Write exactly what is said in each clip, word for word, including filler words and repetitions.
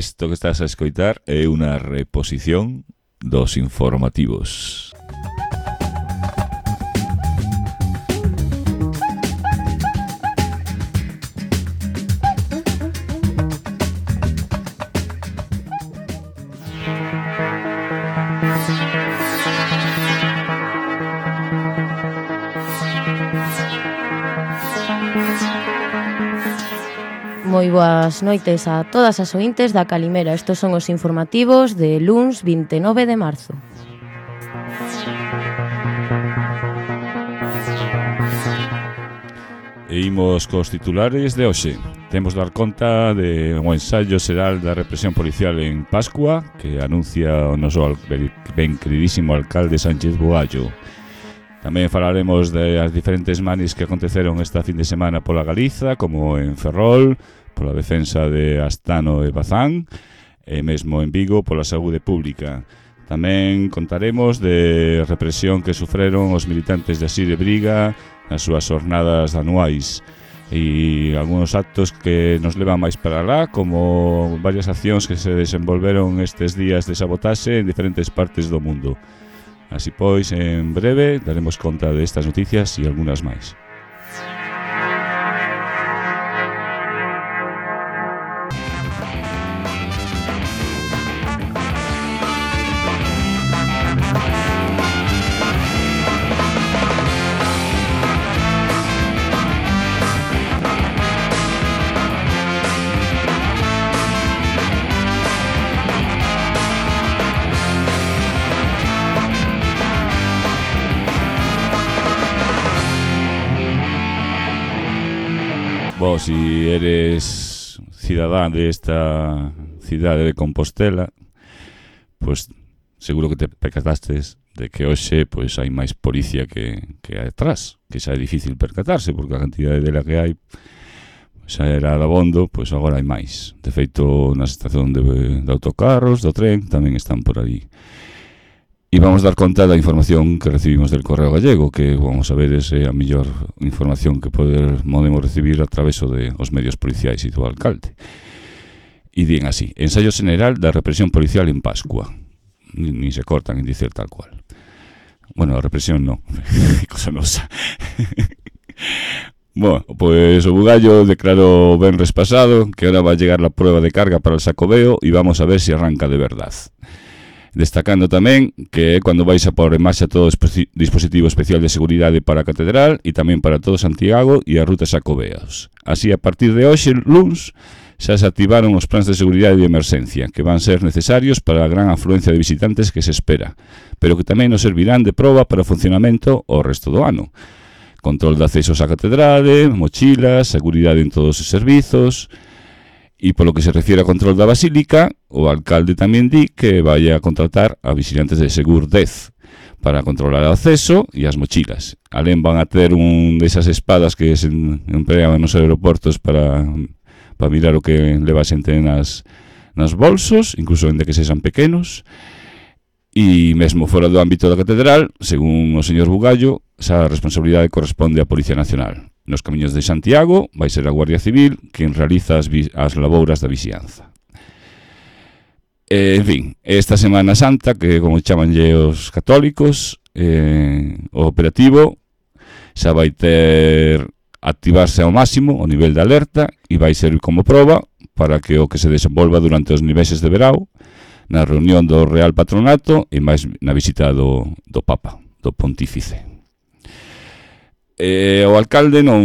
Isto que estás a escoitar é unha reposición dos informativos. Moi boas noites a todas as ointes da Calimera. Estos son os informativos de luns vinte e nove de marzo. E imos cos titulares de hoxe. Temos dar conta de un ensaio xeral da represión policial en Pascua que anuncia o noso ben queridísimo alcalde Sánchez Bugallo. Tamén falaremos das diferentes manis que aconteceron esta fin de semana pola Galiza, como en Ferrol, pola defensa de Astano e Bazán, e mesmo en Vigo pola saúde pública. Tamén contaremos de represión que sufreron os militantes de Asire Briga nas súas jornadas anuais e algúns actos que nos levan máis para lá, como varias accións que se desenvolveron estes días de sabotaxe en diferentes partes do mundo. Así pois, en breve, daremos conta de estas noticias e algunhas máis. Vos, si eres cidadán de esta cidade de Compostela, pues seguro que te percatastes de que hoxe pues, hai máis policía que, que atrás, que xa é difícil percatarse, porque a cantidade dela que hai xa era dabondo, pues agora hai máis. De feito, na estación de, de autocarros, do tren, tamén están por aí. E vamos dar conta da información que recibimos del Correo Gallego, que, vamos a ver, é a mellor información que poder, podemos recibir a través de os medios policiais e do alcalde. E din así: ensayo general da represión policial en Pascua. Ni, ni se cortan en dicer tal cual. Bueno, a represión non, cosa nosa. Bueno, pois o Bugallo declarou ben respasado que ahora va a llegar la prueba de carga para el Xacobeo e vamos a ver si arranca de verdad. Destacando tamén que é cando vais a pôr en marcha todo o dispositivo especial de seguridade para a Catedral e tamén para todo Santiago e a ruta Xacobeos. Así, a partir de hoxe, luns, xa se activaron os plans de seguridade de emerxencia que van ser necesarios para a gran afluencia de visitantes que se espera, pero que tamén nos servirán de proba para o funcionamento o resto do ano. Control de accesos á Catedral, mochilas, seguridade en todos os servizos. E polo que se refiere a control da Basílica, o alcalde tamén di que vai a contratar a vigilantes de Segur dez para controlar o acceso e as mochilas. Alén van a ter un desas espadas que se empregan nos aeroportos para, para mirar o que leva a xente nas, nas bolsos, incluso en de que sexan pequenos. E mesmo fora do ámbito da Catedral, según o señor Bugallo, esa responsabilidade corresponde á Policía Nacional. Nos camiños de Santiago vai ser a Guardia Civil quen realiza as, vi- as labouras da vixianza. Eh, en fin, esta Semana Santa, que como chamanlle os católicos, eh, o operativo xa vai ter activarse ao máximo o nivel de alerta e vai ser como proba para que o que se desenvolva durante os meses de verao, na reunión do Real Patronato e máis na visita do, do Papa, do Pontífice. Eh, o alcalde non,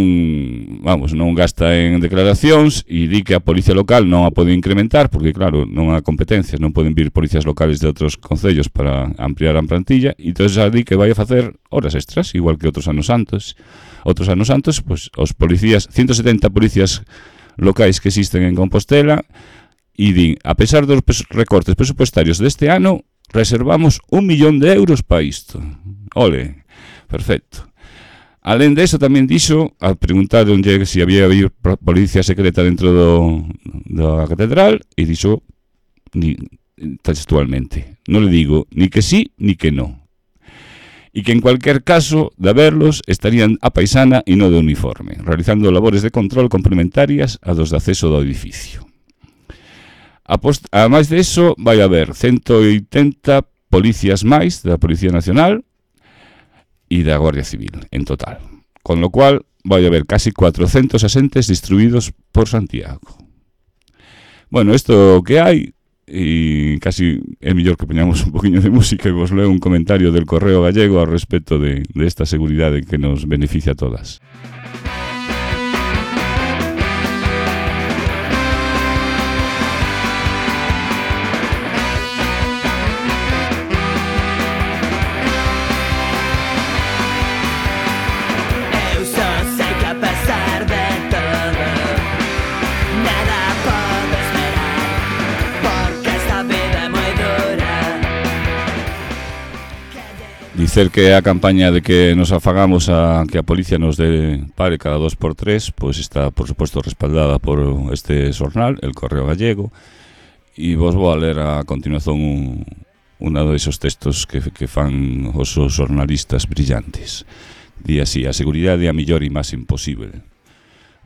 vamos, non gasta en declaracións e di que a policía local non a pode incrementar porque, claro, non há competencias, non poden vir policías locales de outros concellos para ampliar a plantilla e entón xa di que vai a facer horas extras, igual que outros anos santos. Outros anos santos, pois, os policías, ciento setenta policías locais que existen en Compostela e din, a pesar dos recortes presupuestarios deste ano, reservamos un millón de euros para isto. Ole, perfecto. Alén de eso, tamén dixo, a preguntaronlle se había habido policía secreta dentro do, da catedral, e dixo, ni, textualmente, non le digo ni que sí, ni que no. E que en cualquier caso, de haberlos, estarían a paisana e non de uniforme, realizando labores de control complementarias a dos de acceso do edificio. Apost- a máis de eso, vai haber ciento oitenta policías máis da Policía Nacional e da Guardia Civil, en total. Con lo cual, vai haber casi cuatrocentos asentes distribuídos por Santiago. Bueno, isto que hai, e casi é mellor que poñamos un poquinho de música e vos leo un comentario del Correo Gallego ao respecto de, de esta seguridade que nos beneficia a todas. Dicer que a campaña de que nos afagamos a que a policía nos dé pare cada dos por tres, pois está, por suposto, respaldada por este xornal, el Correo Gallego, e vos vou a ler a continuación un, un desos textos que, que fan os xornalistas brillantes. Di así: a seguridade é a mellor e máis imposible.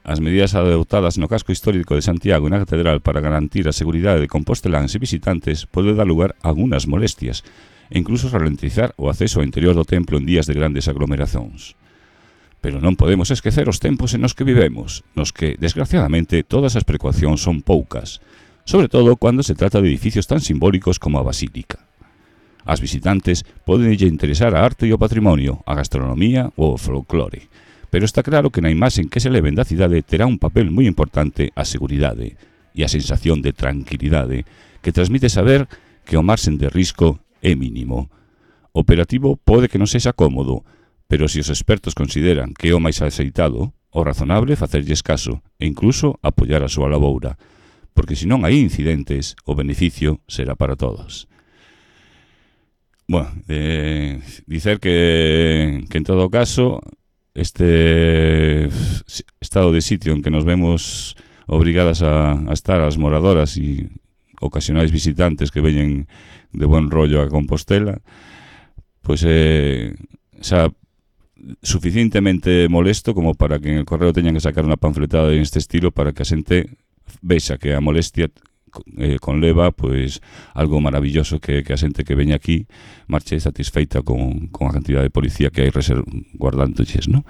As medidas adoptadas no casco histórico de Santiago e na catedral para garantir a seguridade de composteláns e visitantes pode dar lugar a algunhas molestias, e incluso ralentizar o acceso ao interior do templo en días de grandes aglomeracións. Pero non podemos esquecer os tempos en nos que vivemos, nos que, desgraciadamente, todas as precaucións son poucas, sobre todo cando se trata de edificios tan simbólicos como a Basílica. As visitantes poden lle interesar a arte e o patrimonio, a gastronomía ou o folclore, pero está claro que na imaxe que se leven da cidade terá un papel moi importante a seguridade e a sensación de tranquilidade que transmite saber que o marxen de risco é mínimo. O operativo pode que non sexa cómodo, pero se os expertos consideran que é o máis aceitado, o razonable facerlles caso e incluso apoiar a súa laboura, porque se non hai incidentes, o beneficio será para todos. Bueno, eh, dicer que, que en todo caso este estado de sitio en que nos vemos obrigadas a, a estar as moradoras e ocasionais visitantes que veñen de buen rollo a Compostela, pois é xa suficientemente molesto como para que en el correo teñan que sacar unha panfletada en este estilo para que a xente vexa que a molestia eh, conleva pois algo maravilloso que, que a xente que veña aquí marche satisfeita con, con a cantidad de policía que hai guardándoches, non?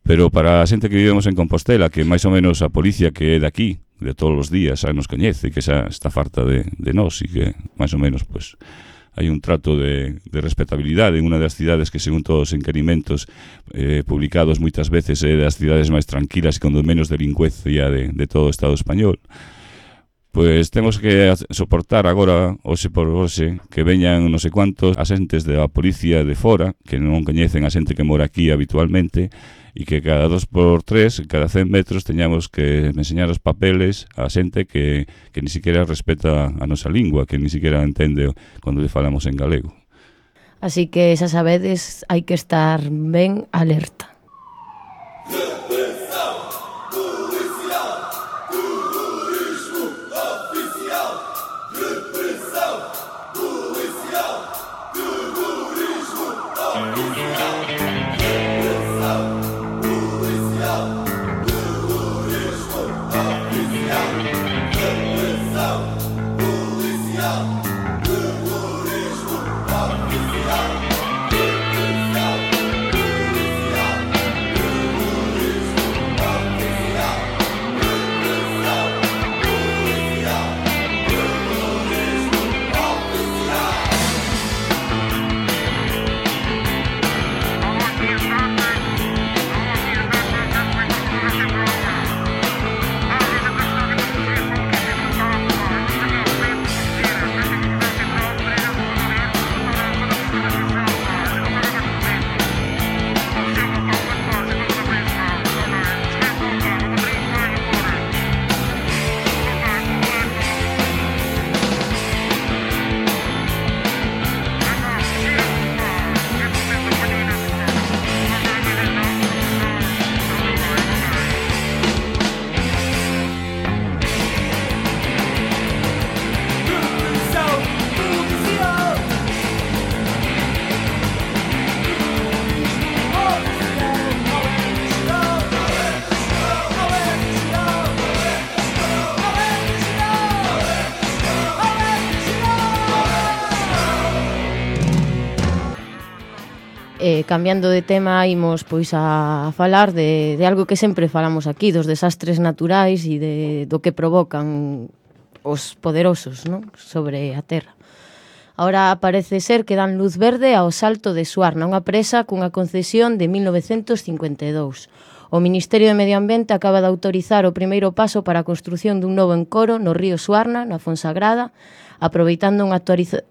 Pero para a xente que vivemos en Compostela, que máis ou menos a policía que é de aquí, de todos os días, xa nos coñece, que xa está farta de, de nós e que máis ou menos pues, hai un trato de, de respetabilidade en unha das cidades que, según todos os enquerimentos eh, publicados moitas veces, é das cidades máis tranquilas e con menos delincuencia de, de todo o Estado español. Pois temos que soportar agora, hoxe por hoxe, que veñan non sei cuantos asentes da policía de fora, que non coñecen a xente que mora aquí habitualmente, e que cada dos por tres, cada cen metros, teñamos que enseñar os papeles a xente que, que ni siquiera respeta a nosa lingua, que ni siquiera entende cando lle falamos en galego. Así que, xa sabedes, hai que estar ben alerta. Eh, cambiando de tema, imos pois a falar de, de algo que sempre falamos aquí, dos desastres naturais e de, do que provocan os poderosos, non? Sobre a Terra. Ahora parece ser que dan luz verde ao Salto de Suarna, unha presa cunha concesión de mil novecentos cincuenta e dous. O Ministerio de Medio Ambiente acaba de autorizar o primeiro paso para a construción dun novo encoro no río Suarna, na Fonsagrada, aproveitando unha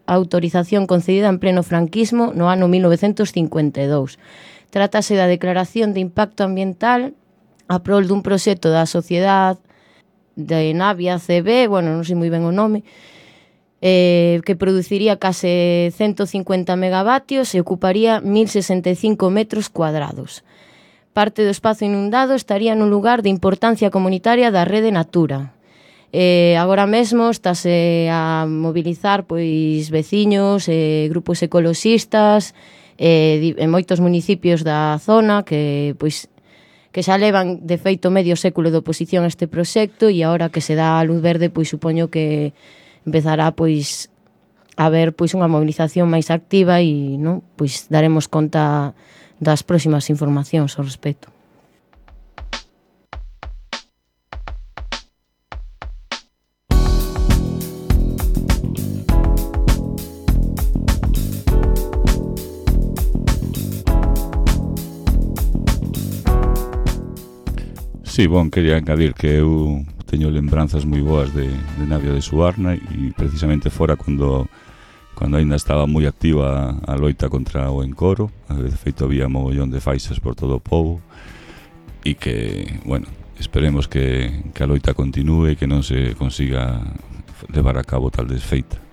autorización concedida en pleno franquismo no ano mil novecentos cincuenta e dous. Trátase da declaración de impacto ambiental a prol dun proxecto da Sociedade de Navia C B, bueno, non sei moi ben o nome, eh, que produciría case ciento cincuenta megavatios e ocuparía mil sesenta e cinco metros cuadrados. Parte do espazo inundado estaría nun lugar de importancia comunitaria da rede Natura. Eh, agora mesmo estáse a mobilizar pois veciños, eh, grupos ecoloxistas, eh, en moitos municipios da zona que pois que xa levan de feito medio século de oposición a este proxecto, e agora que se dá a luz verde, pois supoño que empezará pois a haber pois unha movilización máis activa e, non, pois daremos conta das próximas informacións ao respecto. Sí, bon, quería engadir que eu teño lembranzas moi boas de, de Navia de Suarna e precisamente fora cando cando aínda estaba moi activa a loita contra o encoro. De feito había mogollón de faixas por todo o pobo e que, bueno, esperemos que, que a loita continúe e que non se consiga levar a cabo tal desfeita.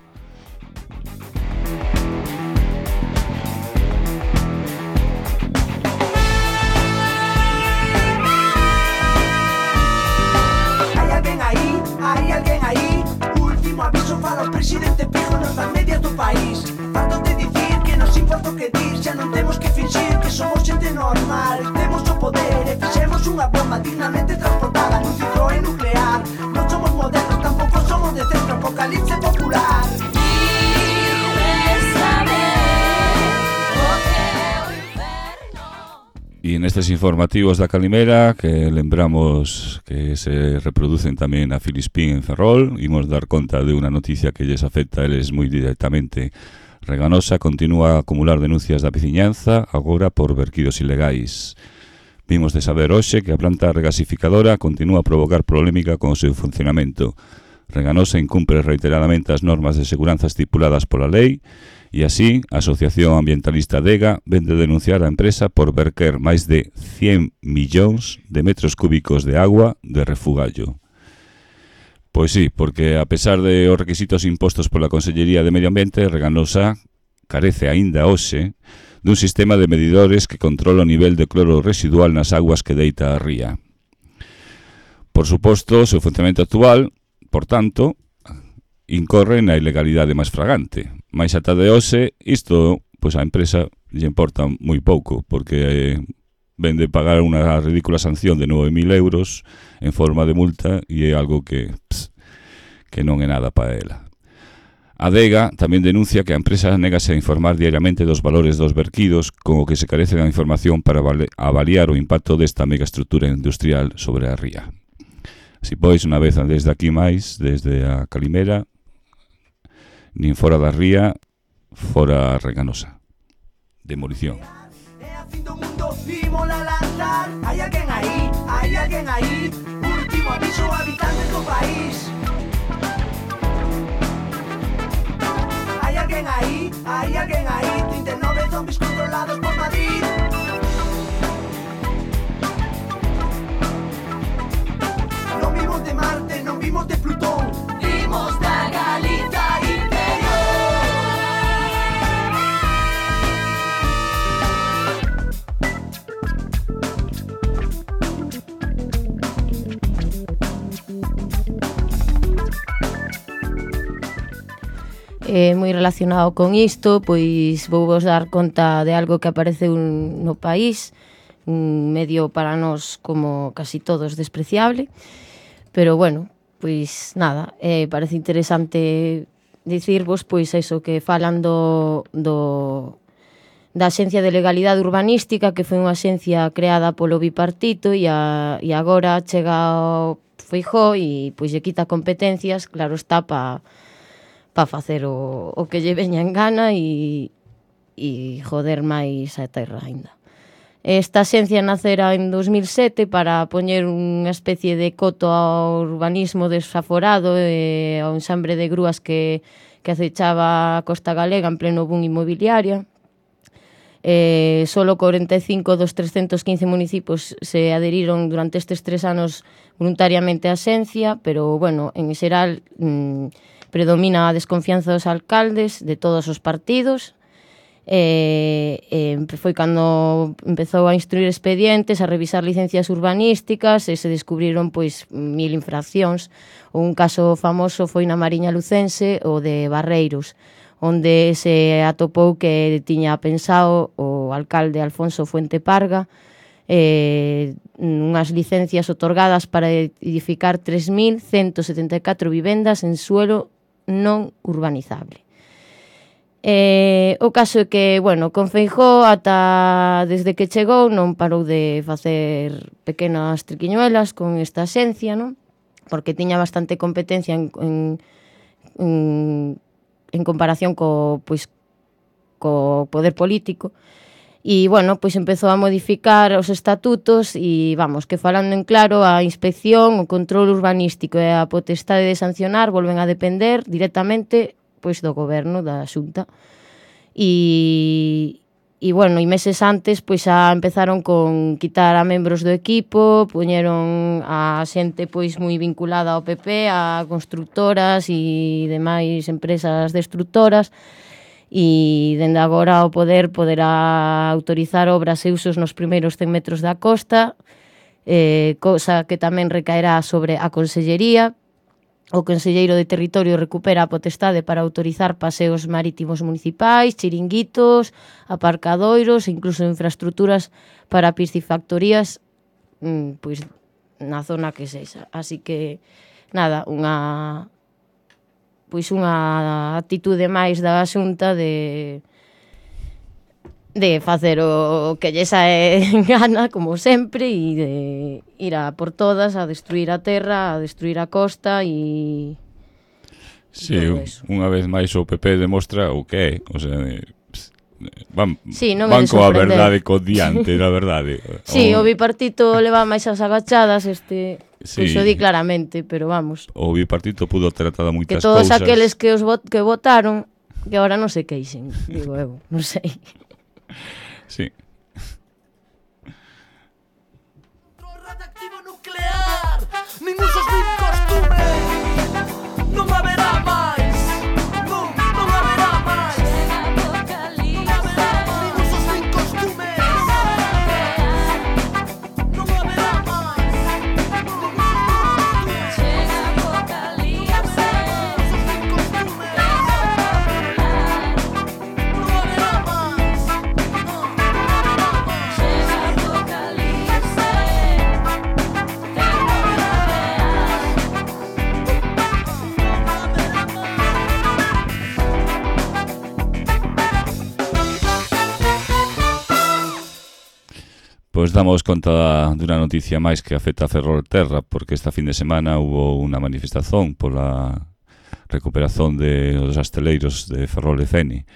Presidente Pijo nos das medias do país. Farto de dicir que nos importa o que dir, xa non temos que fingir que somos xente normal. Temos o poder e fixemos unha bomba dignamente transportada nun Citroën nuclear. Non somos modernos, tampouco somos de centro, apocalipse popular. E nestes informativos da Calimera, que lembramos que se reproducen tamén a Filispín en Ferrol, imos dar conta de unha noticia que lles afecta a eles moi directamente. Reganosa continúa a acumular denuncias da veciñanza, agora por verquidos ilegais. Vimos de saber hoxe que a planta regasificadora continúa a provocar polémica con o seu funcionamento. Reganosa incumpre reiteradamente as normas de seguranza estipuladas pola lei, e así, a Asociación Ambientalista Dega vende denunciar a empresa por verter máis de cien millóns de metros cúbicos de agua de refugallo. Pois sí, porque a pesar de os requisitos impostos pola Consellería de Medio Ambiente, Reganosa carece aínda hoxe dun sistema de medidores que controla o nivel de cloro residual nas aguas que deita a ría. Por suposto, o seu funcionamento actual, por tanto, incorre na ilegalidade máis fragante. Mais ata de hoxe, isto, pois a empresa lle importa moi pouco, porque eh, vende pagar unha ridícula sanción de nove mil euros en forma de multa e é algo que, ps, que non é nada para ela. A Dega tamén denuncia que a empresa negase a informar diariamente dos valores dos verquidos, con o que se carece da información para avaliar o impacto desta megaestrutura industrial sobre a ría. Así pois, unha vez desde aquí máis, desde a Calimera, nin fora da ría, fora Reganosa. Demolición. Hai alguén aí, hai alguén aí. Último aviso, habitantes do país. Hai alguén aí, hai alguén aí. trinta e nove zombies controlados por Madrid. Non vimos de Marte, non vimos de Plutón, vimos da Galiza interior. Eh, moi relacionado con isto, pois vou vos dar conta de algo que aparece un, no país, un medio para nós como casi todos despreciable, pero bueno, pois nada, eh, parece interesante dicirvos pois eso, que falan do, do, da Axencia de Legalidade Urbanística, que foi unha axencia creada polo bipartito e, a, e agora chega ao Feijóo e pois lle quita competencias, claro está, pa, pa facer o, o que lle veña en gana e, e joder máis a terra aínda. Esta axencia nacera en dos mil sete para poñer unha especie de coto ao urbanismo desaforado e ao enxambre de grúas que, que acechaba a costa galega en pleno boom inmobiliaria. Eh, solo cuarenta e cinco dos trescentos quince municipios se adheriron durante estes tres anos voluntariamente á axencia, pero, bueno, en xeral mmm, predomina a desconfianza dos alcaldes de todos os partidos. Eh, eh, foi cando empezou a instruir expedientes, a revisar licencias urbanísticas e se descubriron pois mil infraccións. Un caso famoso foi na Mariña Lucense, o de Barreiros, onde se atopou que tiña pensado o alcalde Alfonso Fuente Parga eh, unhas licencias otorgadas para edificar tres mil ciento setenta e catro vivendas en suelo non urbanizable. Eh, o caso é que, bueno, con Feijóo ata desde que chegou non parou de facer pequenas triquiñuelas con esta axencia, non? Porque tiña bastante competencia en, en, en en comparación co, pois, co poder político. E, bueno, pois empezou a modificar os estatutos e, vamos, que falando en claro, a inspección, o control urbanístico e a potestade de sancionar volven a depender directamente pois do goberno, da Xunta. E, e bueno, e meses antes pois xa empezaron con quitar a membros do equipo, poñeron a xente pois moi vinculada ao P P, a constructoras e demais empresas destructoras, e dende agora o poder poderá autorizar obras e usos nos primeiros cen metros da costa, eh, cosa que tamén recaerá sobre a Consellería. O Conselleiro de Territorio recupera a potestade para autorizar paseos marítimos municipais, chiringuitos, aparcadoiros e incluso infraestructuras para piscifactorías mmm, pois, na zona que sexa. Así que, nada, unha pois unha actitude máis da Xunta de de facer o que lle sae en gana, como sempre, e de ir a por todas, a destruir a terra, a destruir a costa e... Sí, unha vez máis o P P demostra o que é, o sea, van, sí, non van coa verdade co diante, na verdade. Sí, o, o bipartito leva máis as agachadas, este... Sí. Pois o di claramente, pero vamos. O bipartito pudo ter atado moitas cousas. Que todos cousas. aqueles que os vot que votaron, que agora non se queixen, digo eu, non sei. Sí. Radioactivo nuclear, nin usos nin costumes, non haberá máis, non, non haberá máis. Nin usos nin costumes, non haberá máis. Chega apocalipse, nin usos nin costumes, non haberá máis. Pois damos conta dunha noticia máis que afecta a Ferrolterra, porque esta fin de semana hubo unha manifestación pola recuperación de os asteleiros de Ferrol e Fene.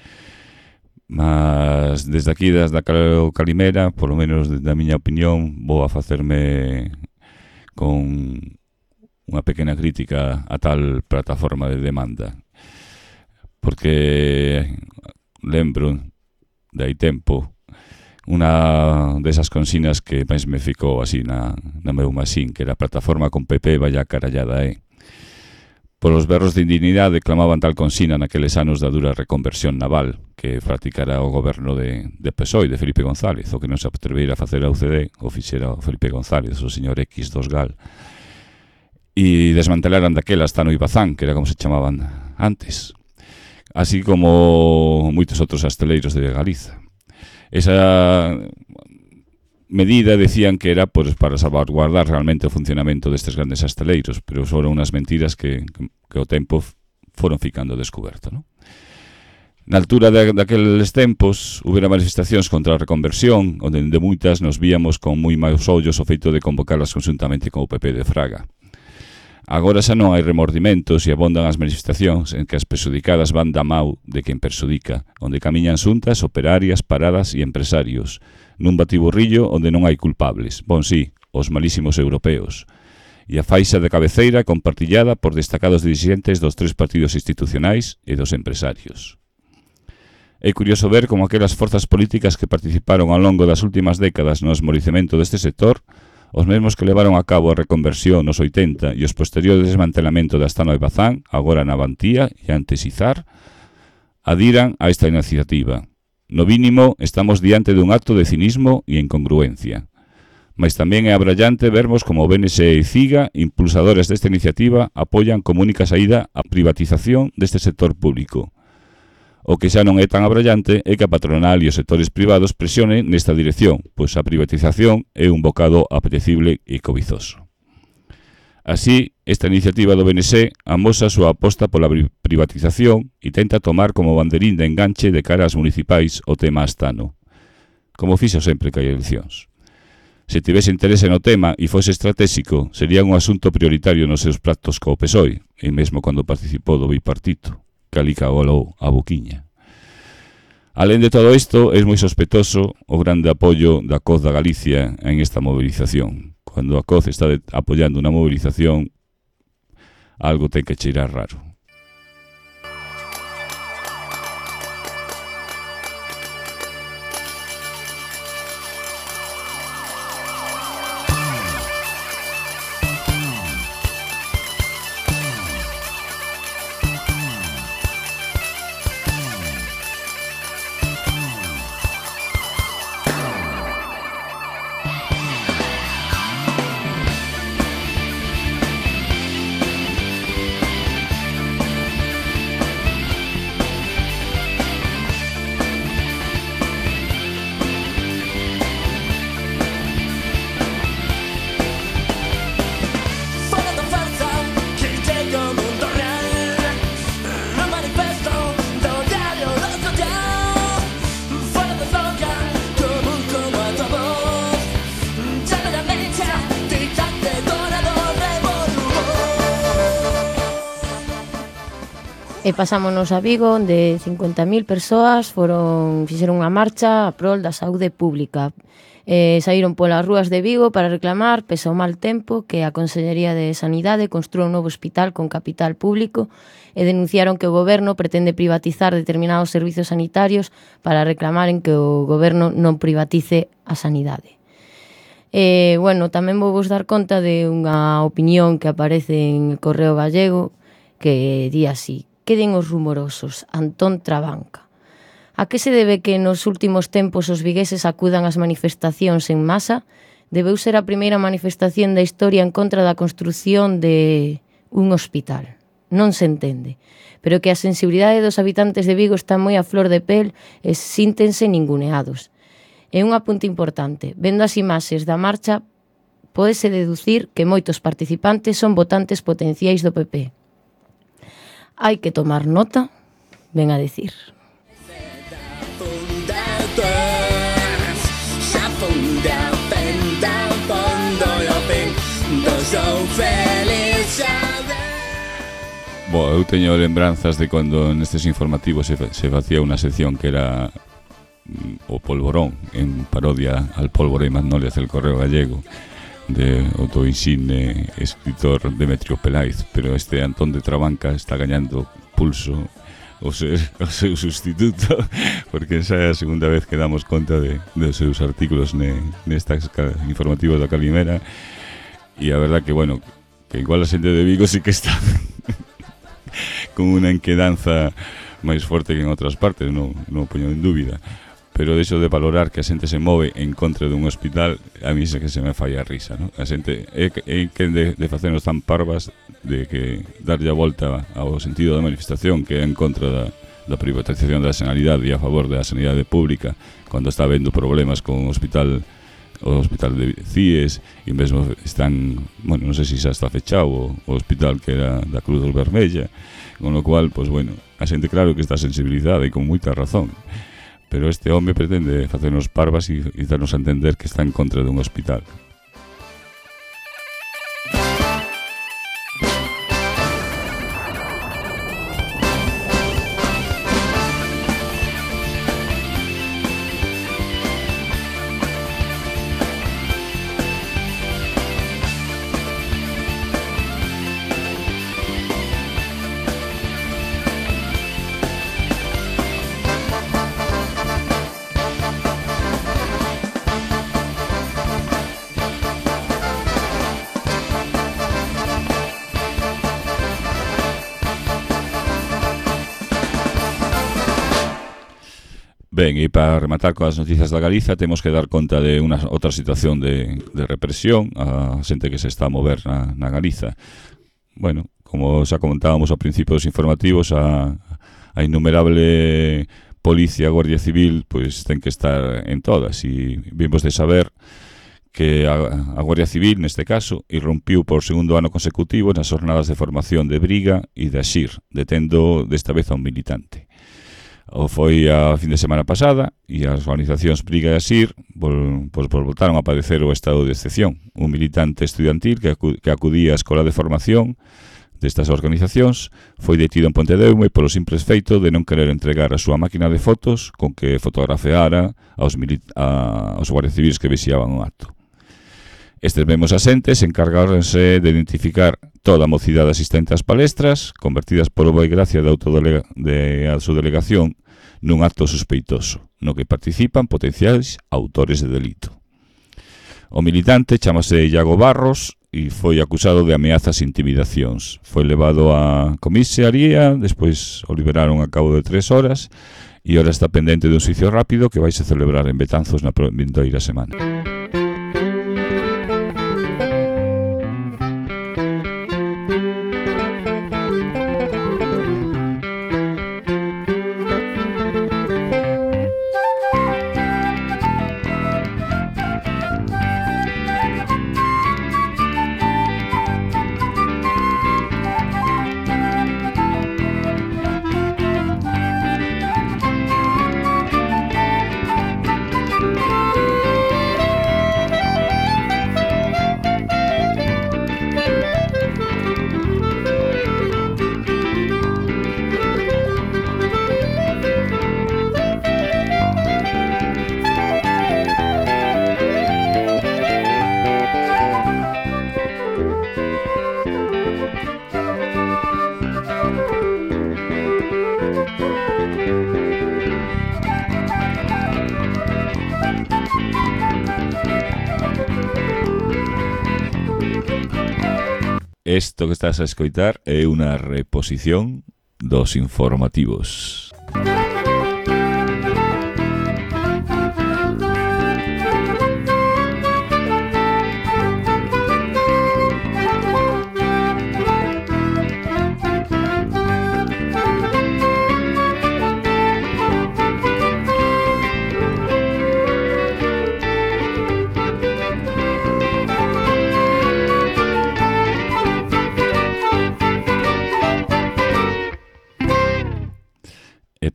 Mas desde aquí, desde a Calimera, polo menos desde a miña opinión, vou a facerme con unha pequena crítica a tal plataforma de demanda. Porque lembro de hai tempo unha desas consignas que máis me ficou así na, na meu masín, que era a plataforma con P P vaya carallada, eh? Polos berros de indignidade clamaban tal consigna naqueles anos da dura reconversión naval que practicara o goberno de, de P S O E, de Felipe González, o que non se atreveira a facer a U C D, o fixera o Felipe González, o señor X dos Gal, e desmantelaran daquelas Tano e Bazán, que era como se chamaban antes, así como moitos outros asteleiros de Galiza. Esa medida decían que era pues, para salvaguardar realmente o funcionamento destes grandes asteleiros, pero foron unhas mentiras que, que o tempo foron ficando descoberto, ¿no? Na altura de, daqueles tempos, houbera manifestacións contra a reconversión, onde de moitas nos víamos con moi maus ollos o feito de convocarlas conjuntamente con o P P de Fraga. Agora xa non hai remordimentos e abondan as manifestacións en que as perxudicadas van da mau de quen perxudica, onde camiñan xuntas, operarias, paradas e empresarios, nun batiburrillo onde non hai culpables, bon sí, os malísimos europeos, e a faixa de cabeceira compartillada por destacados dirixentes dos tres partidos institucionais e dos empresarios. É curioso ver como aquelas forzas políticas que participaron ao longo das últimas décadas no esmorecemento deste sector, os mesmos que levaron a cabo a reconversión nos oitenta e os posteriores desmantelamento da Astano de Bazán, agora na Avantía e antes Izar, adiran a esta iniciativa. No mínimo, estamos diante dun acto de cinismo e incongruencia. Mas tamén é abrallante vermos como o B N S e CIGA, impulsadores desta iniciativa, apoian como única saída a privatización deste sector público. O que xa non é tan abrallante é que a patronal e os sectores privados presionen nesta dirección, pois a privatización é un bocado apetecible e cobizoso. Así, esta iniciativa do B N S amosa a súa aposta pola privatización e tenta tomar como banderín de enganche de cara ás municipais o tema astano, como fixo sempre que hai eleccións. Se tivese interese no tema e fose estratégico, sería un asunto prioritario nos seus pactos co P S O E, e mesmo cando participou do bipartito, que ali cagou a boquiña. Alén de todo isto, é moi sospeitoso o grande apoio da C O Z da Galicia en esta movilización. Cando a C O Z está de, apoiando unha movilización, algo ten que cheirar raro. E pasámonos a Vigo, onde cincuenta mil persoas foron fixeron unha marcha a prol da saúde pública. Eh, saíron polas rúas de Vigo para reclamar, pese ao mal tempo, que a Consellería de Sanidade construa un novo hospital con capital público e denunciaron que o goberno pretende privatizar determinados servizos sanitarios para reclamaren que o goberno non privatice a sanidade. Eh, bueno, tamén vou vos dar conta de unha opinión que aparece en el Correo Gallego que di así: queden os rumorosos, Antón Trabanca. A que se debe que nos últimos tempos os vigueses acudan ás manifestacións en masa? Debeu ser a primeira manifestación da historia en contra da construción de un hospital. Non se entende. Pero que a sensibilidade dos habitantes de Vigo está moi a flor de pel e síntense ninguneados. E un apunte importante. Vendo as imaxes da marcha, pódese deducir que moitos participantes son votantes potenciais do P P. Hai que tomar nota, ven a decir. Bo, eu teño lembranzas de cando nestes informativos se, se facía unha sección que era mm, o polvorón, en parodia al pólvora e magnolias del Correo Gallego, de outro insigne escritor Demetrio Peláez, pero este Antón de Trabanca está gañando pulso o seu, o seu sustituto, porque esa é a segunda vez que damos conta de, de seus artículos ne, nestas informativos da Calimera, e a verdad que, bueno, que igual a xente de Vigo sí que está con unha enquedanza máis forte que en outras partes, non, non poño en dúbida, pero deixo de valorar que a xente se move en contra dun hospital, a mí se que se me falla a risa, ¿no? A xente é, é que de, de facernos tan parvas de que darlle a volta ao sentido da manifestación que é en contra da, da privatización da sanidade e a favor da sanidade pública, cando está habendo problemas con o hospital o hospital de Cíes, e mesmo están, bueno, non sei se xa está fechado o, o hospital que era da Cruz Vermella, con lo cual, pois bueno, a xente claro que está sensibilizada e con moita razón, pero este home pretende facernos parvas e, e darnos a entender que está en contra dun hospital. Ben, e para rematar coas noticias da Galiza, temos que dar conta de unha outra situación de, de represión a xente que se está a mover na, na Galiza. Bueno, como xa comentábamos ao principio dos informativos, a, a innumerable policía, Guardia Civil, pois ten que estar en todas, e vimos de saber que a, a Guardia Civil, neste caso, irrompiu por segundo ano consecutivo nas jornadas de formación de Briga e de Axir, detendo desta vez a un militante. O foi a fin de semana pasada e as organizacións Briga e Asir vol, pues, pues, voltaron a padecer o estado de excepción. Un militante estudiantil que, acu que acudía á escola de formación destas organizacións foi detido en Pontedeume polo simple feito de non querer entregar a súa máquina de fotos con que fotografeara aos, a, aos guardias civiles que vixiaban o acto. Estes mesmos asentes encargáronse de identificar toda a mocidade asistente ás palestras, convertidas por obra e gracia de, de a súa delegación nun acto sospeitoso, no que participan potenciais autores de delito. O militante chamase Iago Barros e foi acusado de ameazas e intimidacións. Foi levado á comisaría, despois o liberaron a cabo de tres horas e ora está pendente dun xuicio rápido que vai se celebrar en Betanzos na vindeira semana. Isto que estás a escoitar é unha reposición dos informativos.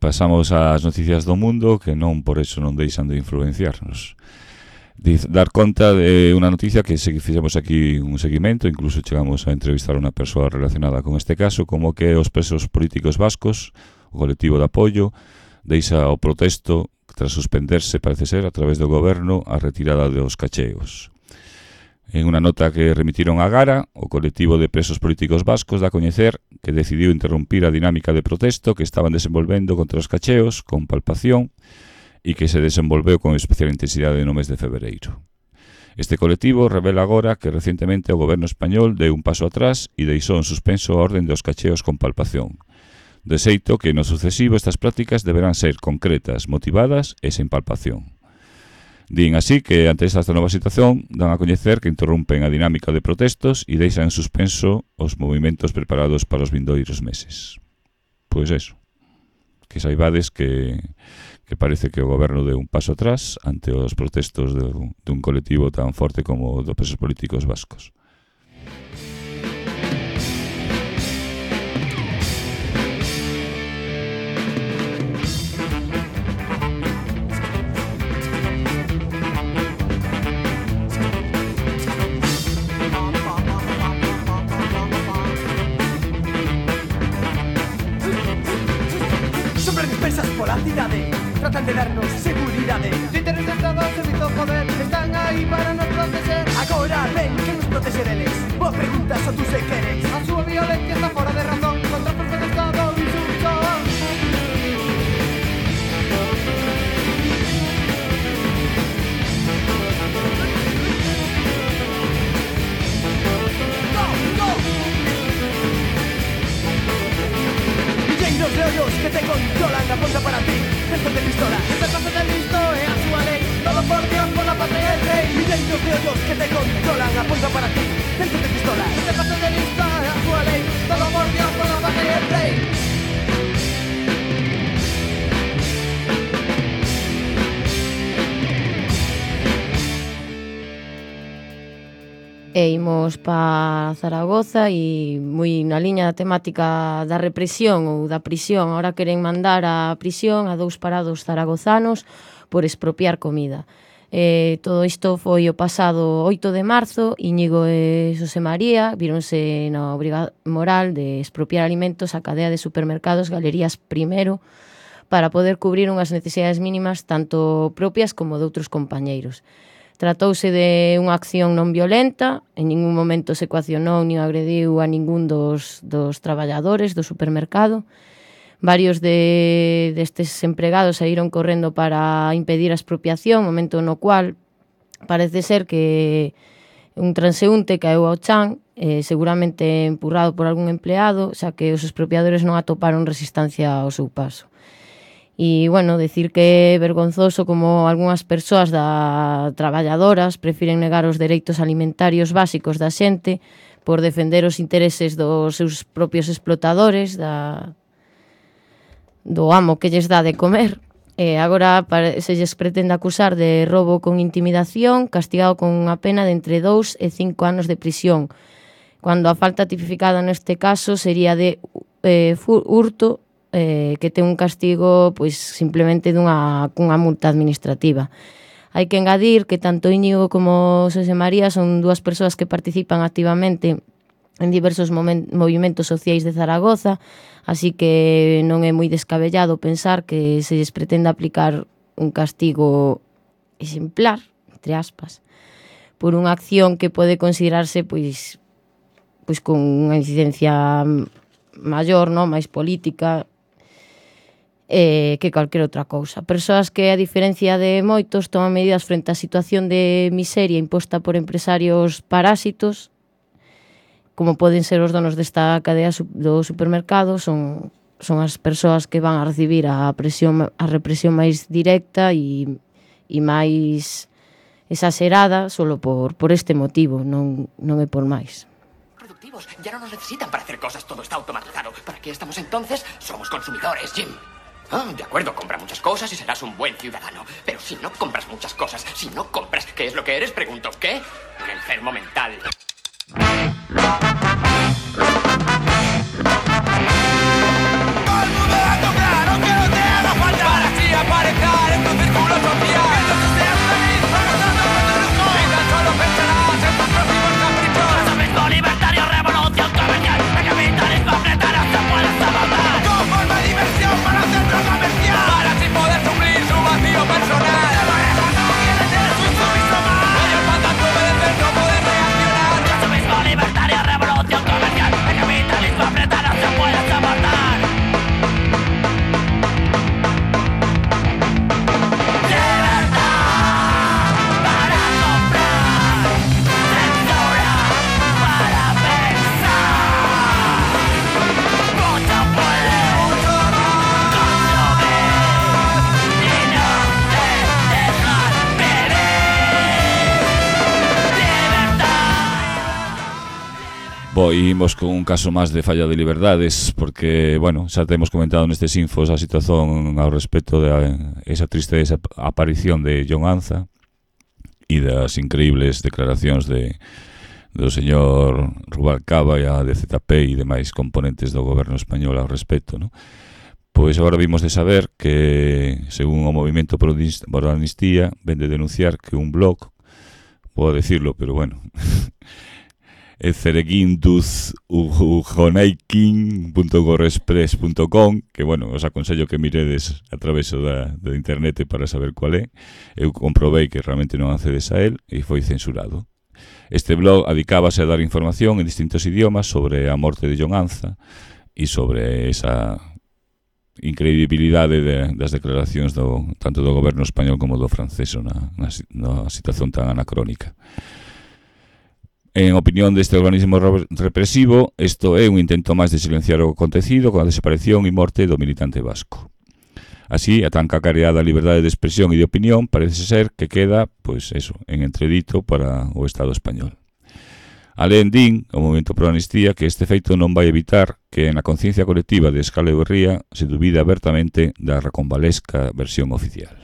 Pasamos ás noticias do mundo que non por eso non deixan de influenciarnos. Diz, dar conta de unha noticia que se fixemos aquí un seguimento, incluso chegamos a entrevistar a unha persoa relacionada con este caso, como que os presos políticos vascos, o colectivo de apoio, deixa o protesto tras suspenderse, parece ser, a través do goberno, a retirada dos cacheos. En unha nota que remitiron a Gara, o colectivo de presos políticos vascos dá a coñecer que decidiu interrompir a dinámica de protesto que estaban desenvolvendo contra os cacheos con palpación e que se desenvolveu con especial intensidade no mes de febreiro. Este colectivo revela agora que recientemente o goberno español deu un paso atrás e deixou en suspenso a orden dos cacheos con palpación. De xeito que no sucesivo estas prácticas deberán ser concretas, motivadas e sen palpación. Din así que, ante esta nova situación, dan a coñecer que interrompen a dinámica de protestos e deixan en suspenso os movimentos preparados para os vindouros meses. Pois eso. que saibades que, que parece que o goberno deu un paso atrás ante os protestos de, de un colectivo tan forte como dos presos políticos vascos. Tratan de darnos seguridade. De interés de Estado, servizo, poder, están aí para nos proteger. Agora ven que nos protege deles. Vos preguntas o tú se queres. A súa violencia está fora de razón. Contra o propio Estado insulto. Go, go. Milleiros de ollos que te controlan, apunta para ti. Centro de pistola, este paso de listo es a su ley. Todo por Dios, por la patria y el rey. Milleiros de ollos que te controlan, apunta para ti. Centro de pistola, este paso de listo es a su ley. Todo por Dios, por la patria y el rey. E imos pa Zaragoza e moi na liña da temática da represión ou da prisión. Ahora queren mandar a prisión a dous parados zaragozanos por expropiar comida. Eh, todo isto foi o pasado oito de marzo. Íñigo e Xosé María víronse na obriga moral de expropiar alimentos á cadea de supermercados Galerías Primero para poder cubrir unhas necesidades mínimas tanto propias como de outros compañeiros. Tratouse de unha acción non violenta, en ningún momento se coaccionou nin agrediu a ningún dos, dos traballadores do supermercado. Varios de, destes empregados saíron correndo para impedir a expropiación, momento no cual parece ser que un transeúnte caeu ao chan, eh, seguramente empurrado por algún empleado, xa que os expropiadores non atoparon resistencia ao seu paso. E, bueno, decir que é vergonzoso como algunhas persoas da traballadoras prefiren negar os dereitos alimentarios básicos da xente por defender os intereses dos seus propios explotadores, da, do amo que lles dá de comer. E agora se lles pretende acusar de roubo con intimidación, castigado con unha pena de entre dous e cinco anos de prisión, cando a falta tipificada neste caso sería de eh, hurto, Eh, que ten un castigo pois simplemente dunha cunha multa administrativa. Hai que engadir que tanto Íñigo como Xosé María son dúas persoas que participan activamente en diversos movimentos sociais de Zaragoza, así que non é moi descabellado pensar que se lles pretende aplicar un castigo exemplar, entre aspas, por unha acción que pode considerarse pois pois con unha incidencia maior, non, máis política, Eh, que calquera outra cousa. Persoas que, a diferencia de moitos, toman medidas frente á situación de miseria imposta por empresarios parásitos, como poden ser os donos desta cadea do supermercado, son, son as persoas que van a recibir a, presión, a represión máis directa e, e máis exagerada solo por, por este motivo, non, non é por máis. Productivos, ya no nos necesitan para hacer cosas, todo está automatizado. ¿Para qué estamos entonces? Somos consumidores, Jim. Ah, de acuerdo, compra muchas cosas y serás un buen ciudadano. Pero si no compras muchas cosas, si no compras, ¿qué es lo que eres? Pregunto, ¿qué? Un enfermo mental. Bo, imos con un caso máis de falla de liberdades, porque, bueno, xa temos comentado nestes infos a situación ao respecto de esa triste aparición de Jon Anza e das increíbles declaracións de do señor Rubalcaba e a D Z P e demais componentes do goberno español ao respecto, non? Pois agora vimos de saber que, según o Movimento por a Amnistía, ven de denunciar que un blog, vou decirlo, pero bueno, é cereguinduz ujonaikin punto wordpress punto com, que, bueno, os aconsello que miredes a través da, da internet para saber cual é. Eu comprobei que realmente non accedes a él e foi censurado. Este blog adicábase a dar información en distintos idiomas sobre a morte de Jon Anza e sobre esa incredibilidade de, das declaracións do, tanto do goberno español como do francés na, na, na situación tan anacrónica. En opinión deste organismo represivo, isto é un intento máis de silenciar o acontecido con a desaparición e morte do militante vasco. Así, a tan cacareada liberdade de expresión e de opinión parece ser que queda, pois eso, en entredito para o Estado español. Alén din, o Movimento pro Amnistía, que este feito non vai evitar que na conciencia colectiva de escala e berría se dubida abertamente da reconvalesca versión oficial.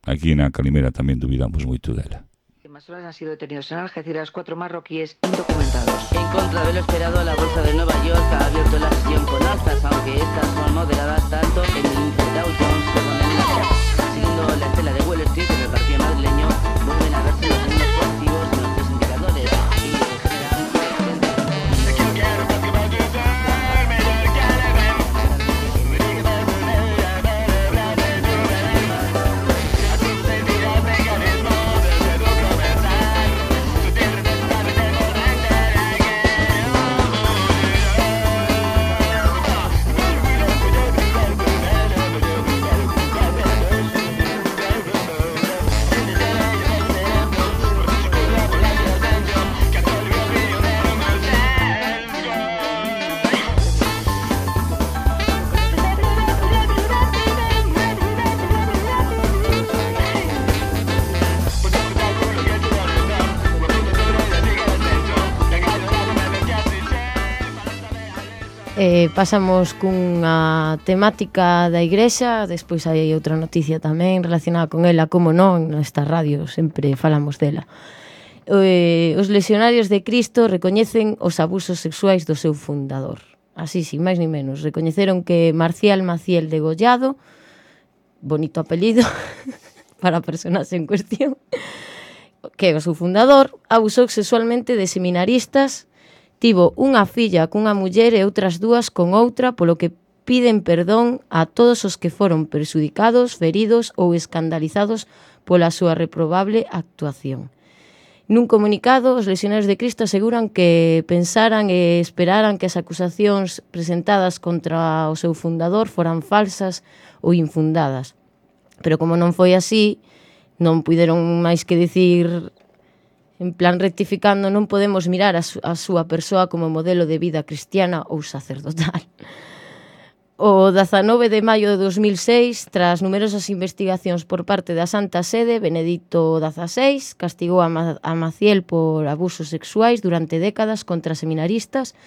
Aquí na Calimera tamén dubidamos moito dela. Más horas han sido detenidos en Algeciras cuatro marroquíes indocumentados. En contra de lo esperado, la Bolsa de Nueva York ha abierto la sesión con alzas, aunque estas son moderadas tanto en el índice Dow Jones como en el Nasdaq. Siguiendo la estela de Wall Street, en el partido madrileño vuelven a verse los signos positivos en los tres indicadores. Eh, pasamos cunha temática da Igrexa, despois hai outra noticia tamén relacionada con ela, como non, nesta radio sempre falamos dela. Eh, os Legionarios de Cristo recoñecen os abusos sexuais do seu fundador. Así, sin máis ni menos. Recoñeceron que Marcial Maciel Degollado, bonito apelido para a personaxe en cuestión, que é o seu fundador, abusou sexualmente de seminaristas. Tivo unha filla cunha muller e outras dúas con outra, polo que piden perdón a todos os que foron perxudicados, feridos ou escandalizados pola súa reprobable actuación. Nun comunicado, os Legionarios de Cristo aseguran que pensaran e esperaran que as acusacións presentadas contra o seu fundador foran falsas ou infundadas. Pero como non foi así, non puideron máis que dicir... En plan, rectificando, non podemos mirar a, su, a súa persoa como modelo de vida cristiana ou sacerdotal. O dezanove de maio de dos mil seis, tras numerosas investigacións por parte da Santa Sede, Benedicto dieciséis castigou a, Ma, a Maciel por abusos sexuais durante décadas contra seminaristas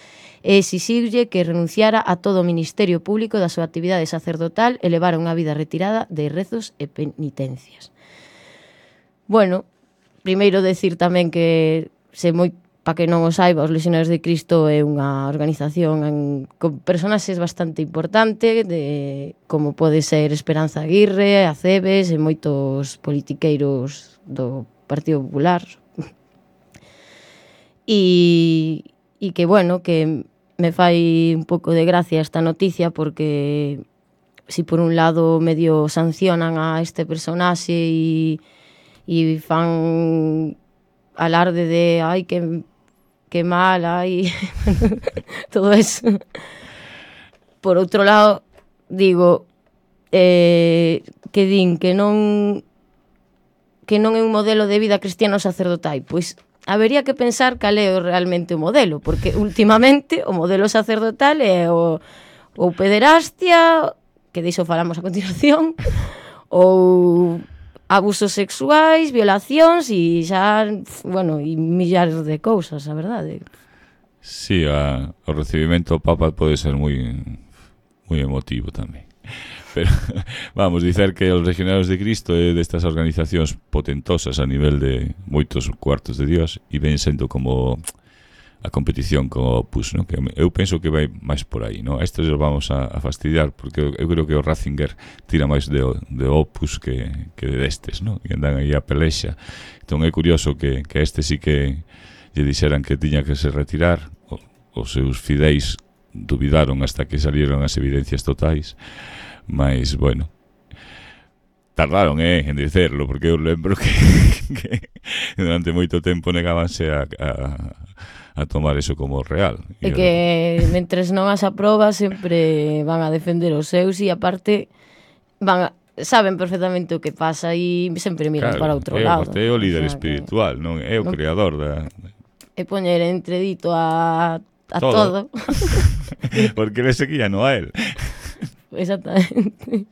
e exixiulle que renunciara a todo o ministerio público da súa actividade sacerdotal e levara unha vida retirada de rezos e penitencias. Bueno, primeiro decir tamén que, se moi para que non o saiba, os Legionarios de Cristo é unha organización en, con personaxes bastante importante, de, como pode ser Esperanza Aguirre, Aceves e moitos politiqueiros do Partido Popular. E, e que, bueno, que me fai un pouco de gracia esta noticia porque si por un lado medio sancionan a este personaxe e e fan alarde de ai, que, que mal, ai, todo eso. Por outro lado, digo, eh, que din que non que non é un modelo de vida cristiano sacerdotal, pois habería que pensar cal é realmente o modelo, porque últimamente o modelo sacerdotal é o, o pederastia, que diso falamos a continuación, ou abusos sexuais, violacións e xa, bueno, e millares de cousas, a verdade. Sí, a, o recibimento ao Papa pode ser moi moi emotivo tamén. Pero vamos, dicer que os Legionarios de Cristo é destas organizacións potentosas a nivel de moitos cuartos de Dios e ven sendo como a competición co Opus, ¿no? Que eu penso que vai máis por aí, ¿no? A estes os vamos a, a fastidiar porque eu creo que o Ratzinger tira máis de, de Opus que, que de destes, ¿no? E andan aí a pelexa. Entón é curioso que, que este sí que lle dixeran que tiña que se retirar. O, os seus fideis dubidaron hasta que salieron as evidencias totais, mas, bueno, tardaron, eh, en dicerlo, porque eu lembro que, que durante moito tempo negábanse a, a, a tomar eso como real. E que mentres non as aproba sempre van a defender os seus e aparte van a, saben perfectamente o que pasa e sempre miran, claro, para outro é, lado. É o líder, o sea, espiritual, que, non é o non, creador da... E poñer entredito a, a todo, todo. Porque le seguía no a él. Exactamente.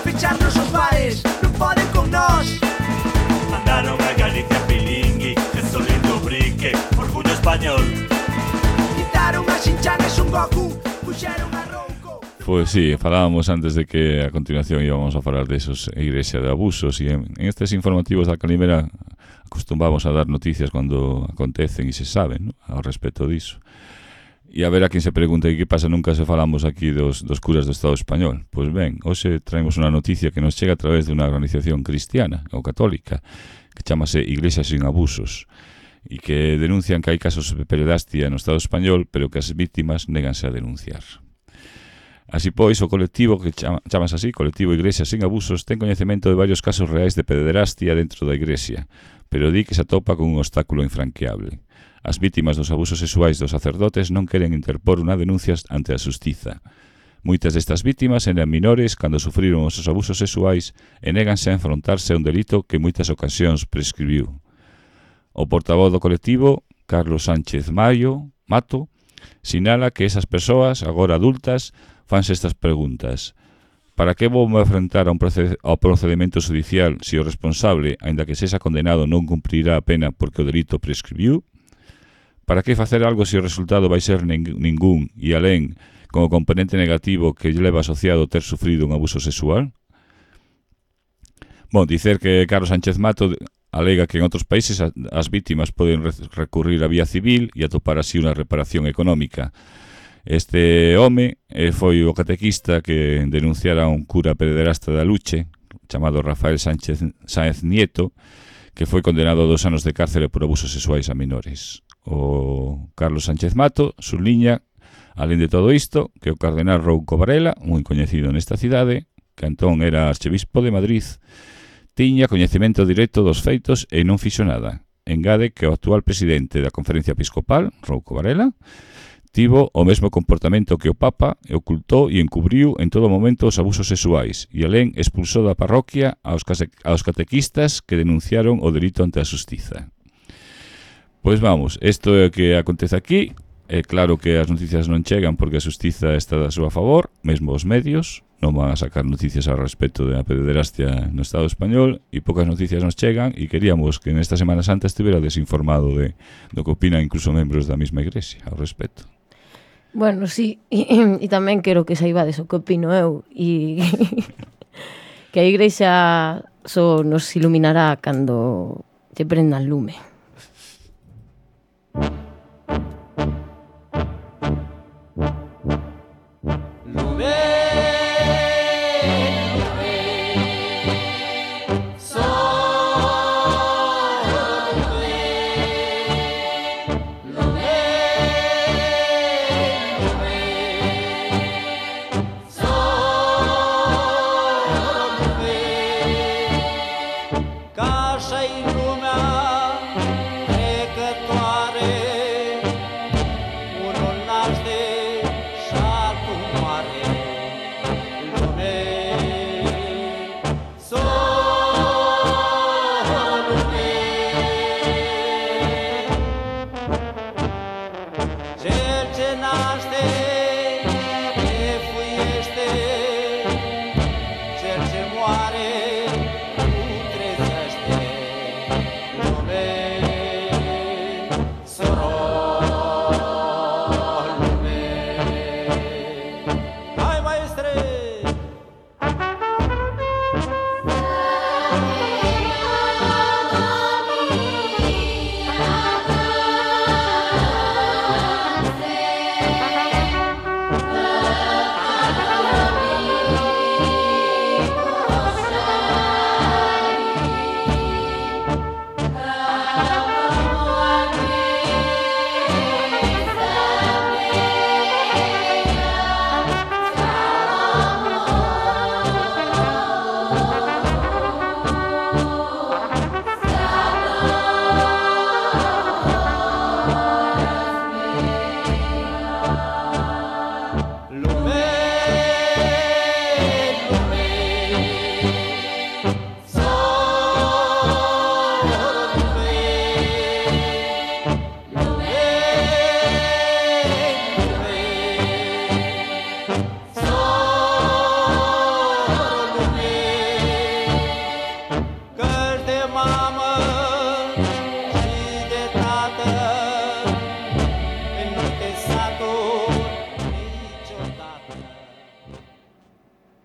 Fecharnos os bares, non poden con nós. Mandaron a Galicia Pilingui, que son lindo brique, orgullo español. Quitaron a Shin-Chan e Son Goku, puxeron a Rouco. Pois sí, falábamos antes de que a continuación íbamos a falar de esos igrexa de abusos e en, en estes informativos da Calimera acostumbamos a dar noticias cando acontecen e se saben, ¿no?, ao respecto diso. E a ver a quen se pregunta e que pasa, nunca se falamos aquí dos, dos curas do Estado español. Pois ben, hoxe traemos unha noticia que nos chega a través de unha organización cristiana ou católica que chamase Iglesia Sin Abusos e que denuncian que hai casos de pederastia no Estado español, pero que as vítimas néganse a denunciar. Así pois, o colectivo, que chama, chamas así, Colectivo Iglesia Sin Abusos, ten coñecemento de varios casos reais de pederastia dentro da Iglesia, pero di que se atopa con un obstáculo infranqueable. As vítimas dos abusos sexuais dos sacerdotes non queren interpor unha denuncia ante a xustiza. Moitas destas vítimas eran menores cando sufriron os abusos sexuais e néganse a enfrontarse a un delito que en moitas ocasións prescribiu. O portavoz do colectivo, Carlos Sánchez Mayo, Mato, sinala que esas persoas, agora adultas, fanse estas preguntas. Para que vou me enfrentar a un proced- ao procedimento judicial se o responsable, aínda que sexa condenado, non cumprirá a pena porque o delito prescribiu? Para que facer algo se o resultado vai ser ning- ningún e alén como componente negativo que lle leva asociado ter sufrido un abuso sexual? Bon, dicer que Carlos Sánchez Mato alega que en outros países as vítimas poden recurrir a vía civil e atopar así unha reparación económica. Este home eh, foi o catequista que denunciara a un cura pederasta da Luche, chamado Rafael Sánchez Sáenz Nieto, que foi condenado a dos anos de cárcere por abusos sexuais a menores. O Carlos Sánchez Mato subliña, alén de todo isto, que o cardenal Rouco Varela, moi coñecido nesta cidade, que entón era arcebispo de Madrid, tiña coñecemento directo dos feitos e non fixo nada. Engade que o actual presidente da Conferencia Episcopal, Rouco Varela, tivo o mesmo comportamento que o Papa e ocultou e encubriu en todo momento os abusos sexuais e alén expulsou da parroquia aos, case, aos catequistas que denunciaron o delito ante a xustiza. Pois vamos, isto é o que acontece aquí. É claro que as noticias non chegan porque a xustiza está da súa favor, mesmo os medios non van a sacar noticias ao respecto da pederastia no Estado español e poucas noticias nos chegan e queríamos que nesta Semana Santa estivera desinformado de, do que opinan incluso membros da mesma igrexa ao respecto. Bueno, sí, e, e tamén quero que saibades o que opino eu e que a igrexa só nos iluminará cando lle prendan lume. Solo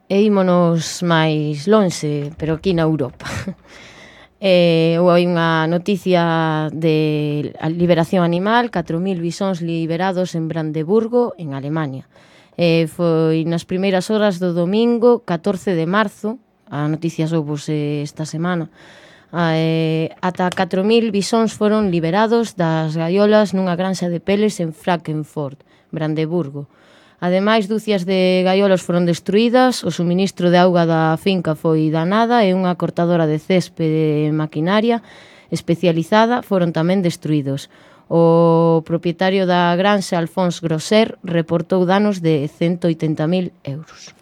E ímonos máis lonxe, pero aquí na Europa. Eh, hai unha noticia de liberación animal, catro mil bisóns liberados en Brandeburgo, en Alemania. Eh, foi nas primeiras horas do domingo, catorce de marzo, a noticia soubose esta semana, eh, ata catro mil bisóns foron liberados das gaiolas nunha granxa de peles en Frankfurt, Brandeburgo. Ademais, dúcias de gaiolas foron destruídas, o suministro de auga da finca foi danada e unha cortadora de céspede de maquinaria especializada foron tamén destruídos. O propietario da granxa, Alphonse Grosser, reportou danos de ciento oitenta mil euros.